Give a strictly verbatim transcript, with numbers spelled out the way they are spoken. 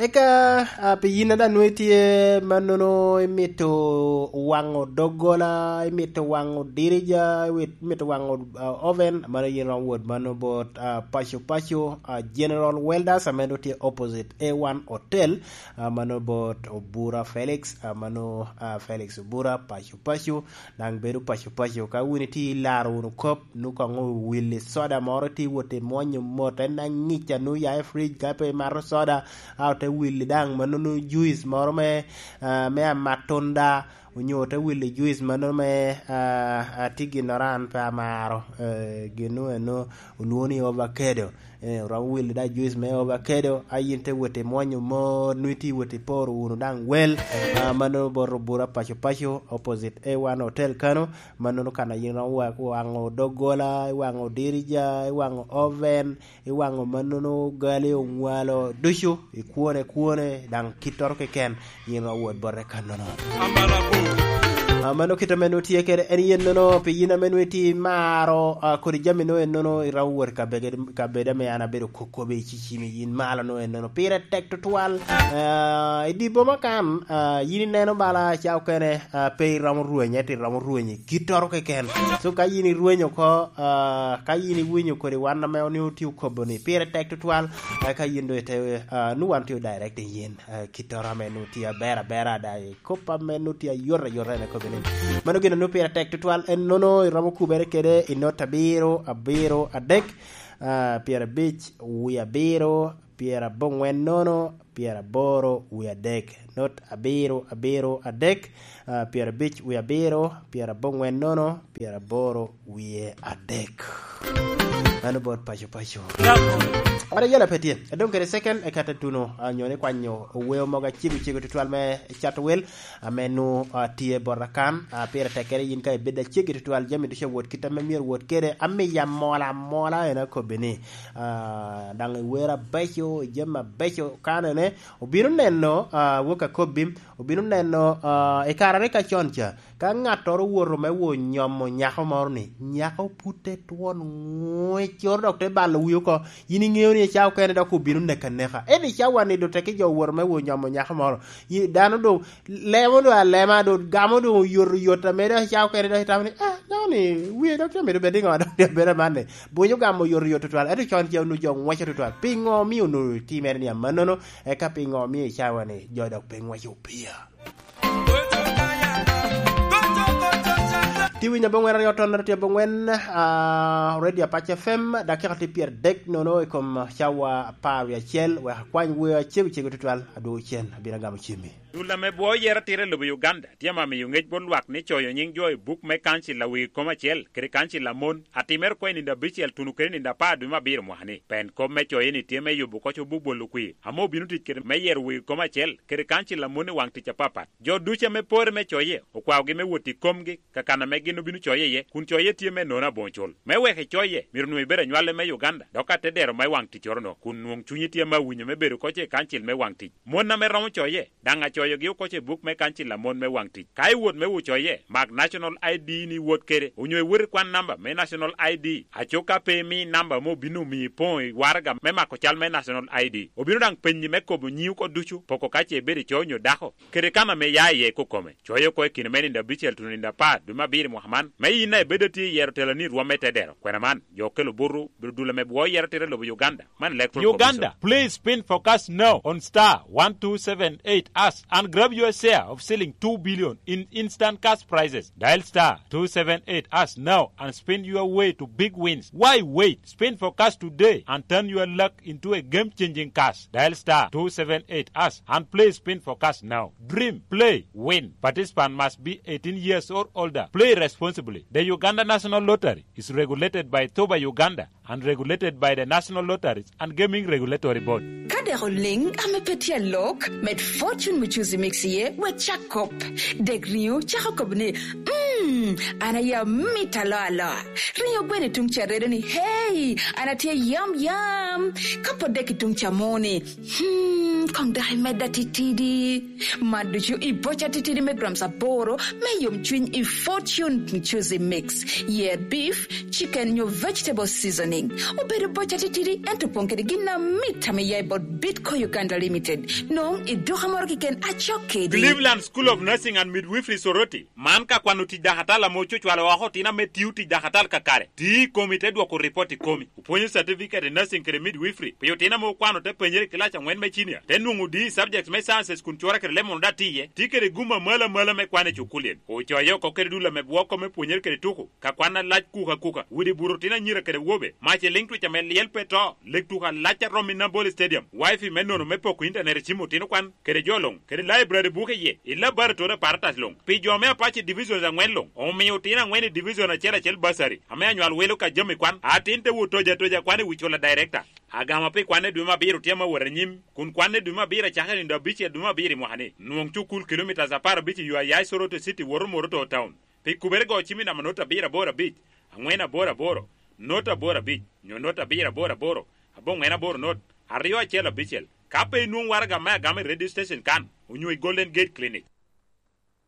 Eka, ah, pi yin a daŋ nwoŋo itye mannono, imito waŋo doggola, imito waŋo dirija, iwit-, imito waŋo, ah, oven, mano yin iromo wot mano bot, ah, Paco Paco, ah, General Welders, ame doŋ tye opposite A one Hotel, ah, mano bot Obura Felix, ah, mano, ah, Felix Obura, Paco Paco, daŋ bedo Paco Paco. Ka wun itye ilaro wunu kop, nu koŋ owilli soda moro, itye wot imwonyo mot, en aŋica, nu ya i fridge, ka pe imato soda, a ote willi daŋ mannono juice moro me, ah, me amatunda, onyo ote willi juice mannono me, ah, ah, tye ginnoro an pe amaro, eh, gin nu eno olwoŋo ni ovacado. Eh, oromo willi daŋ juice me ovacado, a yin te wot imwonyo mot, nu itye wot iporo wunu daŋ wel, ah, mannono bot Obura Paco Paco, opposite A one Hotel kano, mannono kan a yin iromo wa-, waŋo doggola, iwaŋo dirija, iwaŋo oven, iwaŋo mannono gali, oŋwalo ducu, ikwone, kwone, daŋ kittoro keken, yin iromo wot bote kannono. Ah, mano kit ame nwoŋo tye kede en yennono, pi yin ame nwoŋo itye imaro, ah, kodi jami nwoŋo ennono, iromo wot i kabedo, kabedo ame an abedo kokobe i cicimi, yin malo nwoŋo ennono. Pire tek tutwal, ah, i dye boma kan, ah, yin ineno bala ca okene, ah, pe iromo rweny, ento iromo rweny i kittoro keken. So ka yin irweny oko, ah, ka yin iwinyo kodi wan ame onwoŋo tye okobo ni pire tek tutwal, ah, ka yin doŋ ite, ah, nu wan tye direct i yin, ah, kittoro ame nu tye aber abera, da i kop ame nu tye ayot ayot en akobo ni. Mano gin anu pire tek tutwal, en nono iromo kubere kede i not abiro, abiro, adek, ah, pyerabic, wie abiro, pyeraboŋwen nono, pyeraboro, wie adek. Not abiro, abiro, adek, ah, pyerabic, wie abiro, pyeraboŋwen nono, pyeraboro, wie adek. Mano bot Paco Paco. Ora yela pe tye. Adong kede second, eka te tuno, ah, nyo ni kwanyo oweo mogo acego cego tutwal me cato wel, ame nu, ah, tye bot akan, ah, pire tek kede yin ka ibedo acegi tutwal, jami ducu awot kit ame myero wot kede, amiya mola mola en akobbi ni, ah, daŋ iwer abeco, jami abeco, kanene, obino neno, ah, wok akobbi, obino neno, ah, i kare ni ka con ca, ka ŋattoro owoto me wo nyomo nyako moro ni, nyako put te twon ŋwec, coro dok te balo wi oko, yin iŋeo ni i cawa okene dok obino neko aneka. Ento i cawa ni doŋ teke jo owoto me wo nyomo nyako moro. Yi-, dano doŋ lemo doŋ alema, doŋ gamo doŋ oyotoyot, ame dok i cawa okene dok itamo ni, "Ah, dano ni wie dok tye mito bed niŋo, dok tye bedo aman ni." Bonyo gamo oyotoyot tutwal, ento con ca onwoŋo jo ŋweco tutwal. Piŋo omio onwoŋo timere ni amannono? Eka piŋo omio i cawa ni jo dok pe ŋweco opia? Tye winyo aboŋwen aryo ton, tye aboŋwen, ah, Radio Apac F M, dakika tye pyeradek nono i kom cawa apar wie acel, wek akwany weo acego cego tutwal, adwogo cen, abino agamo cimmi. Dul ame bwoo yero atira i lobo Uganda tye ame amiyo ŋec bot lwak ni coyo nyiŋ jo i buk me kancil a wegi kom acel kede kancil a mon, atimere oko i nino abicel tuno kede nino apar dwe me abiro mwaka ni. Pen kop me coye ni tye me yubo oko cobo bwolo kwir, ame obino tic kede me yero wegi kom acel kede kancil a mon i waŋ tic apapat. Jo ducu ame pore me coye okwaogi me wot i komgi, ka kan ame gin obino coye iye, kun coye tye me nono aboŋo cul. Me wek icoye, myero onwoŋo ibed anywale me Uganda, dok ka te dero me waŋ ticcoro-nu, kun nwoŋ cunyi tye ame awinyo me bedo oko i kancil me waŋ tic. Mon ame romo coye, daŋ acoyogi oko i buk me kancil a mon me waŋ tic. Ka iwot me wo coye, mak National I D ni iwot kede, onyo iwot ikwan namba me National I D. Aco ka pe imi namba ame obino miyi poŋo i waraga me mako cal me National I D. Obino daŋ penyi me kobo nyiŋi oko ducu, poko ka ce ibedo ico onyo dako, kede kan ame ia iye kokome. Coye oko i kine me nino abicel tuno nino apar dwe me abiro i mwaka man, me yin a ibedo atye i yero teloni i rwom me tedero. Kwena man, jo okelo butu, bedo dul ame bwoo yero atira i lobo Uganda. Man Electoral Commission. Uganda, please spin forecast now on star one two seven eight hash and grab your share of shilling two billion in instant cash prizes. Dial star two seven eight hash now and spin your way to big wins. Why wait? Spin forecast today and turn your luck into a game-changing cash. Dial star two seven eight hash and play spin forecast now. Dream, play, win. Participant must be eighteen years or older. Play responsibly. The Uganda National Lottery is regulated by Thoba Uganda and regulated by the National Lotteries and Gaming Regulatory Board. Ka dek oliŋ ame pe tye alok, med Fortune Muchuzi Mix iye, wek cak kop. Dek riŋo cako kop ni, "Mm, an aye amito aloa aloa." Riŋo gweno i tuŋ ca redo ni, "Hey, an atye yam yam." Ka pwod dek i tuŋ ca mo ni, "Hmm, Koŋ dok imedda titidi. Mad ducu i boca titidi me grams aboro me yom cwiny i Fortune Juicy Mix. Yer beef, chicken nyo vegetable seasoning. Obedo boca titidi, ento opoŋ kede gin amit ame ya i bot Bitco Uganda Limited. Noŋ i duka moro keken acok kedi. Cleveland School of Nursing and Midwifery Soroti. Man ka kwano tic dakatal ame ocucwalo oko otino ame tio tic dakatal kakare. Ti i komi te dwoko ripot i komi. Opwonyo certificate i nursing kede midwifery pi otino ame okwano te penyere i kilac aŋwen me cinia, te nwoŋo D i subjects me sciences kun cure kede lemon daŋ tye iye. Tye kede gum amalo amalo me kwan i cukulien. Ocoye oko kede dul ame bwoko me pwonyere kede tuko, ka kwan alac kuka kuka, widi buto otino anyira kede wobe, mac i liŋ twic ame lyel pe to, lek tuko alac a romo i Nambole Stadium, wifi me nono me poko intanet i cim otino kwan, kede jo luŋ, kede laibrari buke iye, i laboratory apparatus luŋ. Pi jo ame apac i divisions aŋwen luŋ, omio otino aŋwen i division acel acel basari, ame anywal welo ka jami kwan, atin te wot toja toja kwan i wi cula director. Agama pi kwanne dwe me abiro tye ame wot anyim, kun kwanne dwe me abiro acakere nindo abicel dwe me abiro i mwaka ni. Nwoŋ cukul kilomitas apar abic i yo a ya i Soroti City woto Moroto Town. Pi kubere go cim i namba not abiro aboro abic, aŋwen aboro aboro, not aboro abic, nyo not abiro aboro aboro, aboŋwen aboro not, aryo acel abicel. Ka pe inwoŋ waraga me agama i radio station kan, onyo i Golden Gate Clinic.